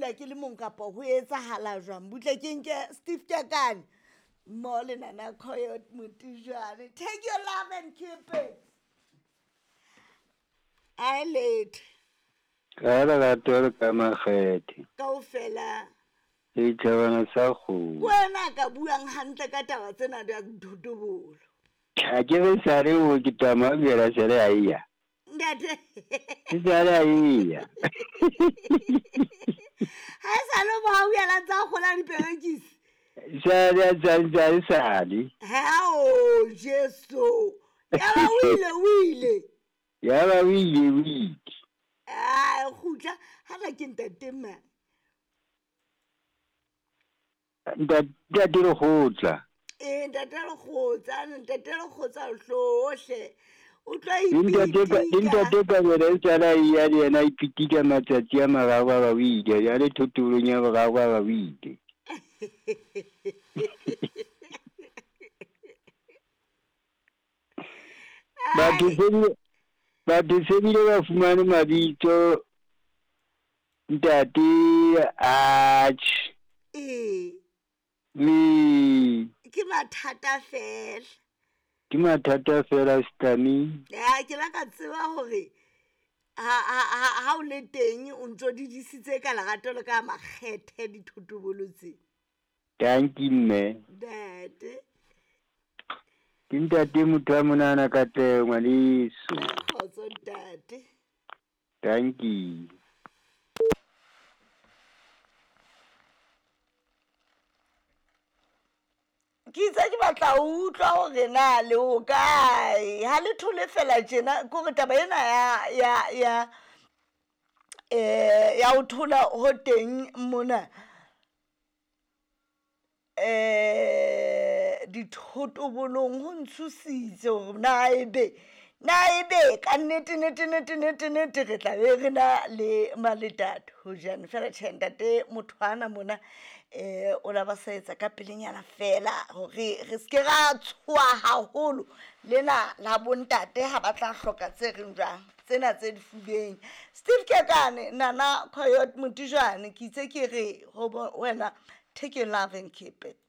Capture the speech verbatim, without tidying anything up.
dula ke le mong kapa ho etsahala jwang? Butle ke nke Steve Kekane mo le Nana Coyote Motijane. Take your love and keep it. A late. Ka lerato le ka makgethe. Kaofela. Setjhabana sa kgomo. Wena ka buang hantle ka taba tsena di thotobolo. Ha ke re sare o ke tama bjela sare a iya. Ntate. Ke sare a iya. Ha sa lo ba o yela tsa gola diperekisi. Sare sare sare sare. Ha o Jesu. Ya ba o ile o ile. Ya ba o ile o ile. Ah khutla ha la ke ntate ma. Ntate le khotla. Eh ntate le khotsa, ntate le khotsa hlohle. O tla ipitika. Ntate ka bele tsala ya le yena ipitika matsatsi a mararo ba o ile, ya le thotolong ya boraro ba o ile. Batho se batho se bile ba fumane mabitso ntate atjhe. Eh. Me ke mathata fela. Ke mathata fela Stami. Ya ke la ka tseba hore ha ha ha o le teng o ntso di disitse ka lerato le ka makgethe dithotobolo tse. Thank you mme. Ntate. Ke ntate motho a monana ka teng ngwaneso. Kgotso ntate. Thank you. Ke itse ke batla ho utlwa hore na le ho kae. Ha le thole fela tjena ke hore taba ena ya ya ya eh ya ho thola ho teng mona eh dithotobolong ho ntshositse hore na ebe na ebe ka nnete nnete nnete nnete nnete re tla be re na le maletato ho jane fela tjhe ntate motho ana mona eh o la ba sa etsa ka pelenyana fela hore re ske ra tshoha haholo lena la bontate ha ba tla hloka tse reng jwang tsena tse difubeng. Steve Kekane Nana Coyote Motijane ke itse ke re ho wena take your love and keep it.